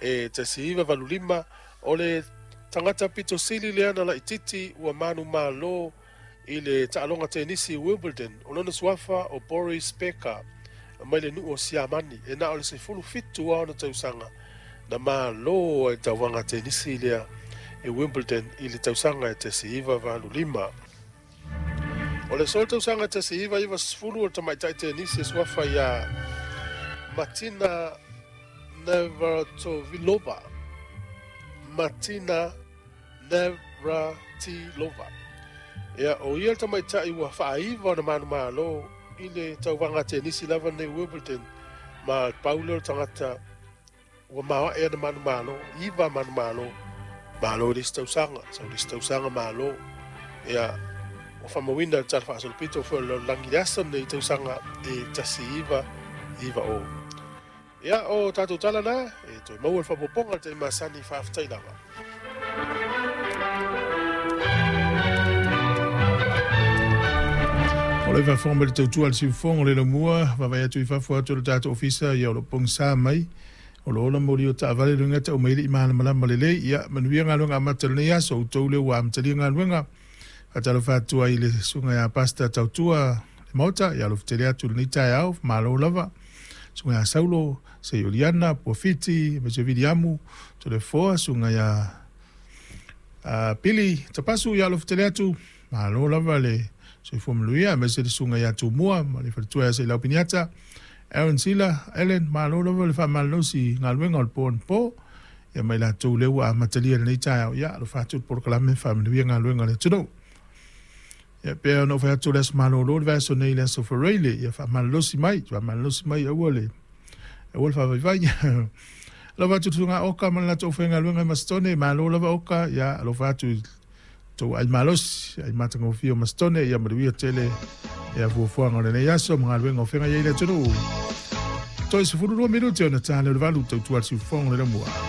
e 1985, o le tagata pito sili lea na laitiiti ua manumalo i le taaloga tenisi Wimbledon. O lona suafa o Boris Becker mai le nuu o Siamani, e na o le 17 lava ona tausaga na malo ai le tauvaga tenisi lea i Wimbledon i le tausaga e 1985. O le aso tausaga 1990, o le tamaitai tenisi e suafa ia Martina Navratilova. Martina Navratilova. Ia, o ia le tamaitai ua faaiva ona manumalo i le tauvaga tenisi lava nei Wimbledon, ma pau lea o le tagata ua maoae ana manumalo, 9 manumalo, malo i le isi tausaga, sau le isi tausaga malo. Ia, ua faamauina le tala faasolopito foi o le lalolagi i le aso lenei tausaga e 1990. Ia, o tatou tala na, e toe maua le faaopoopoga i le taimi masani, faafetai lava. O le faafofoga mai le tautua a le siufofoga o le laumua, vaavaai atu i fafo atu o le tatou ofisa, ia o lo o pogisa mai, o lo o ola moli o taavale luga tau mai le i malamalama lelei. Ia, manuia galuega amata o lenei aso, outou lea ua amatalia galuega. Faatalofa atu ai i le susuga ia Pastor Tautua le Maota, ia alofa tele atu i lenei taeao, malo lava. Susuga ia Saulo, Seioliana, Puafiti, aemaise Viliamu, Toleafoa, susuga ia Pili Tapasu, ia alofa tele atu, malo lava le soifua manuia, aemaise le susuga ia Tumua ma le faletua ia Seilau Piniata, Aaron Sila, Ellen, malo lava le faamalolosi i galuega o le po anapo, ia ma i latou lea ua amatalia i lenei taeao, ia alofa atu le polokalame faamanuia galuega a le atunuu. Ia pei ona ou fai atu o le aso malolo le vaiaso nei i le aso Faraile, ia faamalolosi mai, faamalolosi mai aua le aua le faavaivai. Alofa atu i le susuga Oka ma le latou aufaigaluega i Masitone, malo lava Oka, ia alofa atu i tou ai malosi, ai matagofie o Masitone, ia manuia tele ia fuafuaga o lenei aso ma galuega o feagai ai le atunuu. Toe 12 minute ona ta lea o le 8 tautua le siufofoga o le lamua.